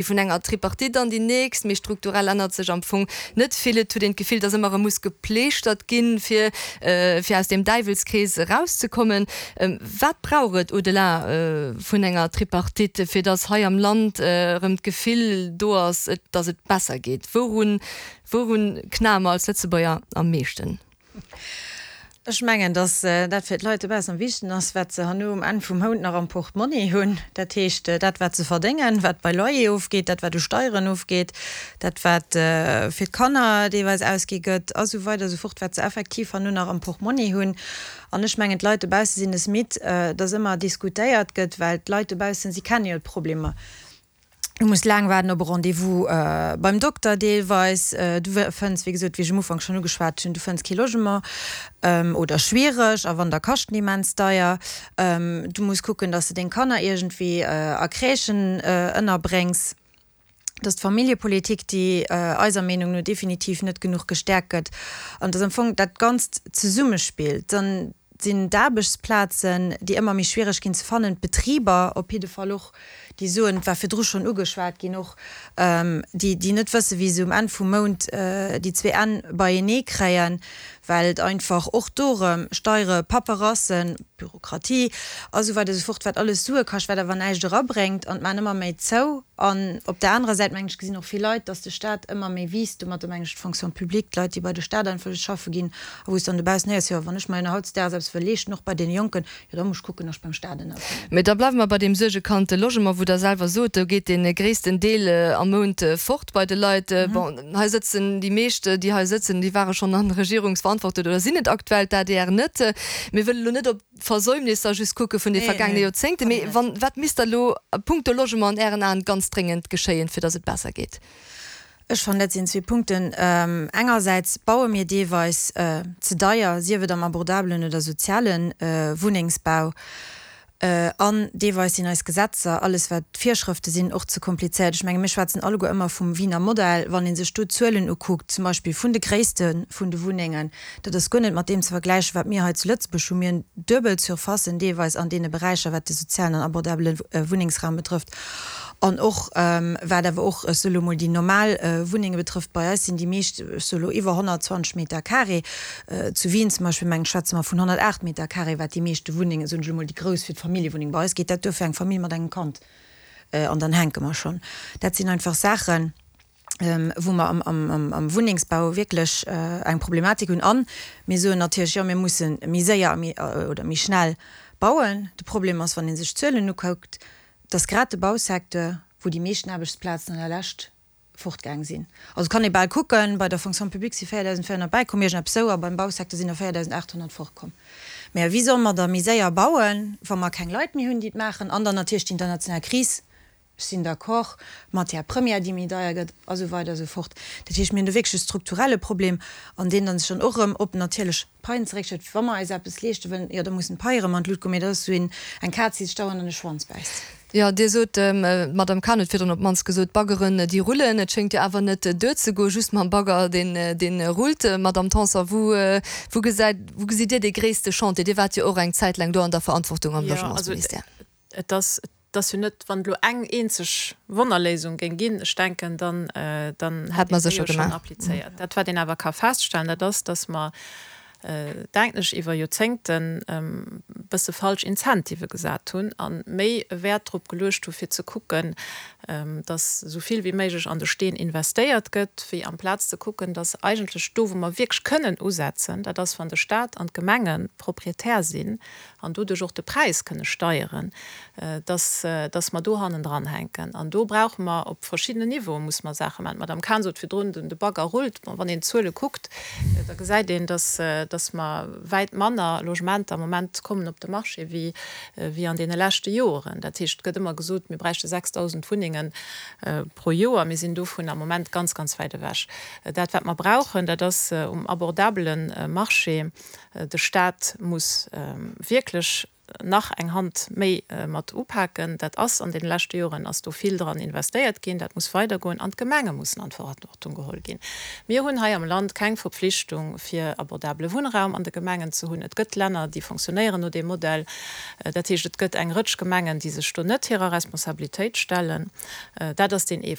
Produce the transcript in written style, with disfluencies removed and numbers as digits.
Vun enger Tripartite an déi nächst, mee strukturell ännert sech am Fong net vill. Et huet een d'Gefill, datt ëmmer erëm muss gepleeschtert ginn, fir fir aus deem Däiwelskrees erauszekommen. Wat brauch et au-delà vun enger Tripartite, fir datt hei am Land erëm d'Gefill do ass, datt et besser geet? Wourun wourun knae mer als Lëtzebuerger am meeschten? Ech mengen, datt dat fir d'Leit dobaussen am wichtegsten ass, wat se herno um Enn vum Mount nach am Portmonni hunn. Dat heescht, dat wat se verdéngen, wat bei Loyer ofgeet, dat wat u Steieren ofgeet, dat wat fir d'Kanner deelweis ausgi gëtt a sou weider a sou fort, wat se effektiv herno nach am Portmonni hunn. An ech mengen, d'Leit dobausse sinn es midd, datt ëmmer diskutéiert gëtt, well d'Leit dobaussen, si kenne jo d'Problemer. Du muss laang waarden op e Rendez-vous beim Dokter deelweis. Du fënns, wéi gesot, wéi ech um Ufank schonn ugeschwat hunn, du fënns kee Logement oder schwiereg a wann, da kaschten déi immens deier. Du muss kucken, dass de deng Kanner iergendwéi a Crèchen ënnerbréngs. Dass d'Familljepolitik, déi eiser Meenung no definitiv net genuch gestäerkt gëtt an dass am Fong dat Ganzt zesummespill. Dann sinn d'Aarbechtsplazen, déi ëmmer méi schwiereg ginn ze fannen, d'Betriber op jidde Fall och, déi soen, et war virdru schonn ugeschwat ginn och, déi, déi net wëssen, wéi se um Enn vum Mount déi zwee Enn beienee kréien, well et einfach och do erëm Steiere, Paperassen, Bürokratie a sou weider esou fort, wat alles Sue kascht, wat awer näischt erabréngt an et maachen ëmmer méi zou. An op där anerer Säit, mengen ech, gesinn och vill Leit, dass de Stat ëmmer méi wiisst, domatter mengen ech d'Fonction publique, d'Leit, déi bei de Stat einfach just schaffe ginn a wou s de dann dobaussen héiers, jo, wann ech mer jo nach hautdesdaags eppes wëll leeschten, och bei deene Jonken, jo, da muss ech kucken, dass ech beim Stat ënnerkommen. Mee da bleiwe mer bei deem suergekannte Logement, wou Der selwer sot, do geet dee gréissten Deel am Mount fort bei de Leit. Bon, hei sëtzen déi meescht, déi hei sëtzen, déi ware schonn an Regierungsverantwortung oder sinn et aktuell, d'ADR net. Mir wëlle lo net op d'Versäumnisser just kucke vun de vergaangene Joerzéngten, mee wann, wat misst da lo a puncto Logement an Ären Aen ganz dréngend geschéien, fir datt et besser geet? Ech fannen, dat sinn zwee Punkten. Engersäits baue mir deelweis ze deier, sief et am abordabelen oder soziale Wunnengsbau. An deelweis sinn eis Gesetzer, alles wat d'Virschrëfte sinn, och ze komplizéiert. Ech menge mir schwätzen alleguer ëmmer vum Wiener Modell. Wann ee sech do d'Zuelen ukuckt, zum Beispill vun de Gréisste vun de Wunnengen, dat ass guer net mat deem ze vergläichen, wat mir hei zu Lëtzebuerg hunn. Mir hunn duebel Surfacen deelweis an deene Beräicher, wat de sozialen an abordabele Wunnengsraum betrëfft an och wat awer och, ech soe lo mol, déi normal Wunnenge betrëfft. Bei eis sinn déi meescht, ech soe lo, iwwer 120 Meter carré. Zu Wien zum Beispill, mengen ech, schwätze mer vun 108 Meter carré, wat déi meeschte Wunnengen, soen ech elo mol, déi grouss fir d'Familljewunneng. Bei eis geet dat duer fir eng Famill mat engem Kand an dann hänke mer schonn. Dat sinn einfach Saachen, wou mer am Wunnengsbau wierklech eng Problematik hunn. A mir soen natierlech, jo, mir musse méi séier oder méi schnell bauen. De Problem ass, wann ee sech d'Zuelen ukuckt, dass grad de Bausecteur, wou déi meeschten Aarbechtsplazen an der Lescht fortgaang sinn. Also et kann ee bal kucken, bei der Fonction publique si 4.400 bäikomm, iergendeppes esou, a beim Bausecteur sinn der 4.800 fortkomm. Mä wéi solle mer da méi séier bauen, wa mer keng Leit méi hunn, déi et maachen? An dann natierlech déi international Kris, ech sinn d'accord, d'Matière première, déi méi deier gëtt, a sou weider a sou fort. Dat heescht, mir hunn do wierklech e strukturelle Problem, an deen dann sech dann och erëm op natierlech d'Paien zeréckstellt. Wa mer eis eppes leeschte wëllen, jo da mussen d'Paie erëm an d'Lut goen, mee dat ass esou een, eng Kaz, déi sech dauernd an de Schwanz bäisst. Jo, Dir sot, d'Madame Cahen huet virdrun op d'mannst gesot, d'Baggeren, déi rullen. Et schéngt jo awer net duerzegoen, just mam Bagger, deen, deen rullt. Madame Tanson, wou, wou gesäit, wou gesitt Dir dee gréisste Chantier? Dir waart jo och eng Zäit laang do an der Verantwortung am Logementsministère. Jo, also et ass, et ass jo net, wann et elo eng eenzeg Wonnerléisung géing ginn, ech denken, dann, dann hätt een déi jo schonn applizéiert. Dat, wat een awer ka feststellen, dat ass, dass mer, denken ech, iwwer Joerzéngten e bësse falsch Incentivë gesat hunn a méi e Wäert drop geluecht hu fir ze kucken, datt esou vill wéi méiglech an de Steen investéiert gëtt, wéi amplaz ze kucken, datt eigentlech do wou mer wierklech kënnen usetzen, dat ass wann de Stat an d'Gemenge Proprietär sinn an doduerch och de Präis kënne steieren, dass, dass mer do hannendran hänken. An do brauche mer op verschiddenen Niveaue musse mer Saache maachen. D'Madame Cahen sot virdrun, de Bagger rullt. Bon, wann een d'Zuele kuckt, da gesäit een, dass, dass mer wäit manner Logementer am Moment kommen op de Marché wéi, wéi an deene leschte Joren. Dat heescht, et gëtt ëmmer gesot, mir bräichte 6.000 Wunnenge pro Joer. Mir sinn dovun am Moment ganz, ganz wäit ewech. Dat, wat mer brauchen, dat ass um abordabele Marché, De Stat muss wierklech. nach eng Hand méi mat upaken. Dat ass an deene leschte Joren ass do vill dran investéiert ginn. Dat muss weidergoen an d'Gemenge mussen an d'Verantwortung geholl ginn. Mir hunn hei am Land keng Verpflichtung fir abordabele Wunnraum an de Gemengen ze hunn. Et gëtt Länner, déi fonctionnéieren no deem Modell. Dat heescht, et gëtt eng Rëtsch Gemengen, déi sech do net hirer Responsabilitéit stellen. Dat ass deen ee.